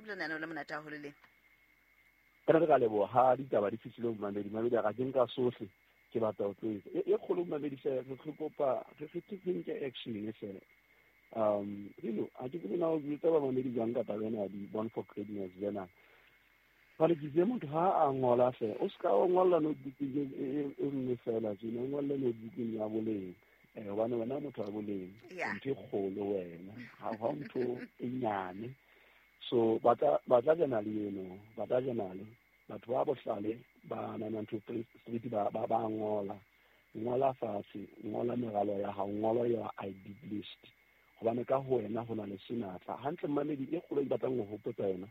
Ebile lenaneo le monate haholo le. Ka re ka leboha ha ditaba di fihlile ho mamedi. Mamedi a ka ke nka sohle ke batla ho tlo etsa. E kgolo mamedi se re kopa re nke action e fela. You a ke tsebe na o jwetsa bamamedi jwang ka taba ena ya di-Born for Greatness journal. Jwale ke itse motho ha a ngola hle, o ska o ngolla notebookeng e nngwe fela tjena, o ngolle notebookeng ya boleng. Hobane wena motho wa boleng, ntho e kgolo wena, ha ho ntho e nyane. So batla journal eno, batla journal. Batho ba bohlale ba 912 Street ba ngola. Ngola fatshe, ngola meralo ya hao, ngola ya I did list. Hobane ka ho wena ho na le senatla. Hantle mamedi e kgolo e batlang ho hopotsa yona.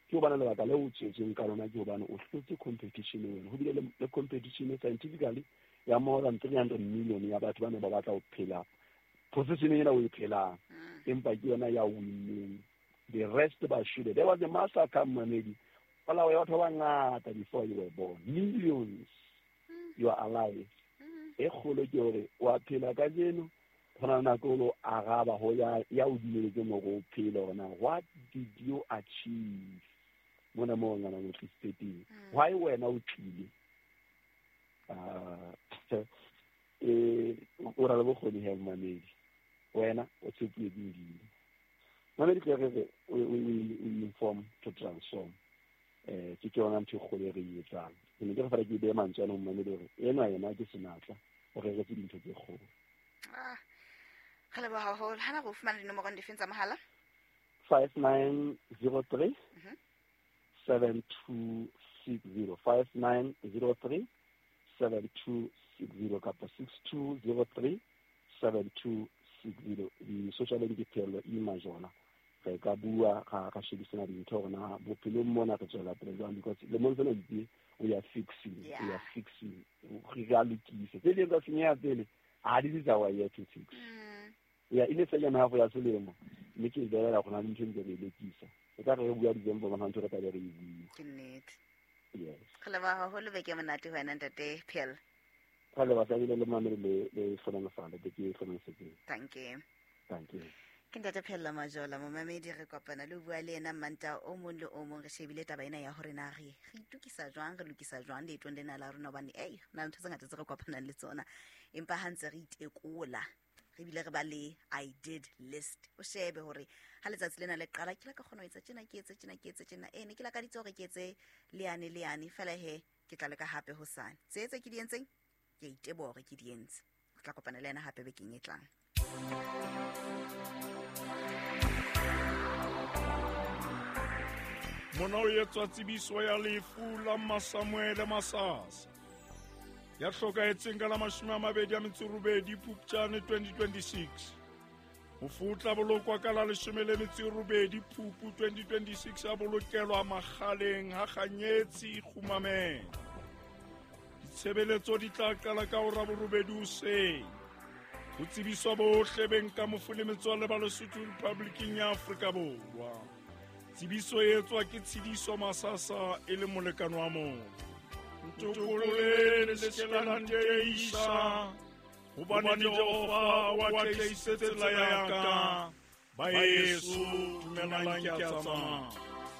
Ke hobane lebaka leo o tswetsweng ka lona ke hobane o hlotse competition wena. Ho bile le competition scientifically ya more than 300 million ya batho ba ne ba batla ho phela position ena o e phelang. Empa ke yona ya winneng. The rest ba shwele. There was a massacre mamedi. Polao ya batho ba bangata before you were born. Millions. You are alive. E kgolo ke hore wa phela kajeno, ho na le nako o lo araba ho ya o dumeletseng hore o phele hore na what did you achieve mona moo ngwana o tlisitse teng. Why wena o tlile? O na le bokgoni he mamedi. Wena o tshepuwe ke Modimo. Mamedi tle re re we inform to transform. Ke yona ntho e kgolo e re e etsang. Ke ne ke re fela ke behe mantswe ana ho mamedi hore enwa yena ke senatla, o reretse dintho tse kgolo. Re leboha haholo. Hana re o fumana dinomorong difeng tsa mohala? 5903 7260. 5903 7260 kapa 6203 7260. Di-social media ke Pheello E Majola. Re ka bua ra shebisana dintho hore na bophelong mona re tswela pele jwang, because lemong sena itse we are fixing, we are fixing, re a lokisa. Tse ding tsa senyeha pele, ha di tsa wa year to fix. Ya ile second half ya selemo, mme ke belela gona le ntho ntse re lokisa. E ka re bua December bona ntho re tla be re e bua. Ke nnete. Yes. Re leboha haholo beke monate ho wena ntate Phel. Re leboha thabile le mamele le hlohonolofale, be ke hlohonolofetseng. Thank you. Thank you. Ke ntate Pheello Majola, momamedi re kopana le ho bua le yena Manta o mong le o mong. Re shebile taba ena ya hore na re itukisa jwang, re lokisa jwang leetong lena la rona, hobane ei, ho na le ntho tse ngata tse re kopanang le tsona, empa ha ntse re itekola re bile re ba le I did list, o shebe hore ha letsatsi lena le qala ke la ka kgona ho etsa tjena, ke etse tjena, ke etse tjena, ne ke lakaditse hore ke etse leane leane, fela he ke tla leka hape hosane. Tse tse ke di entseng ke a iteboha hore ke di entse. Re tla kopana le yena hape bekeng e tlang. Mona o etswa tsebiso ya lefu la Masamuele Masasa ya hlokahetseng ka la 28 Phupjane 2026. Mofu o tla bolokwa ka la 18 Phupu 2026, a bolokelwa Makgaleng ha Kganyetsi Kgumameng. Ditshebeletso di tla qala ka hora borobedi hoseng. Ho tsebiswa bohle beng ka mofu le metswalle ba Lesotho Republiking ya Afrika Borwa. Tsebiso e etswa ke Tshidiso Masasa e le molekane wa mofu. Ntokololeng le se ke la nteisa, hobane Jehova o atlehisitse tsela ya ka. Baeso, dumelang ke a tsamaya.